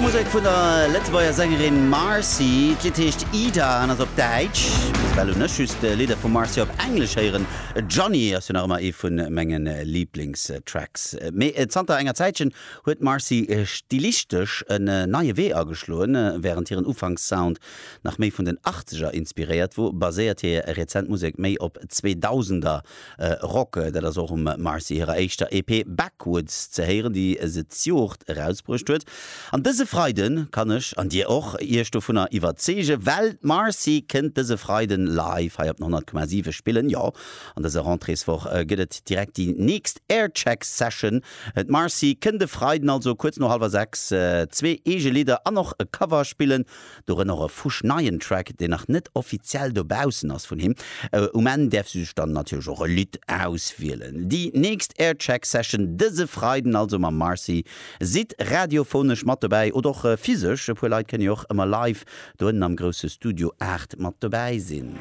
Musek vun der Lëtzebuerger Sängerin Marcy. D'Lidd heescht Ida an ass op Däitsch. Bis ewell hunn ech just Lidder vum Marcy op Englesch héieren. Johnny ass jo nach ëmmer ee vu menge Liblingstracks. Mee zanter enger Zäitchen huet d'Marcy stilistesch en neie Wee ageschloen. Wärend hiren Ufankssound nach méi vun den Achtzeger inspiréiert wor, baséiert hir rezent Musek méi op Zweedausender Rock. Dat ass och um Marcy hirer éischter EP Backwoods ze héieren, déi se d'Joert erausbruecht huet. An dëse Freide kann ech, an dir och, iech dovunner iwwerzeegen, well d'Marcy kënnt dëse Freiden live hei op den 100,7 spillen. Jo, an dëser Rentréeswoch gëtt et direkt déi nächst Aircheck Session. D'Marcy kënnt e Freiden also kuerz no hallwer 6 zwee eege Lidder an och e Cover spillen. Dorënner och e fuschneien Track, deen nach net offiziell dobaussen ass vun him. Um Enn däerf si sech dann natierlech och e Lidd auswielen. Déi nächst Aircheck Session dëse Freiden also mam Marcy. Sidd radiophonesch mat dobäi oder och physesch, e puer Leit kënne jo och ëmmer live doënnen am grousse Studio 8 mat dobäi sinn.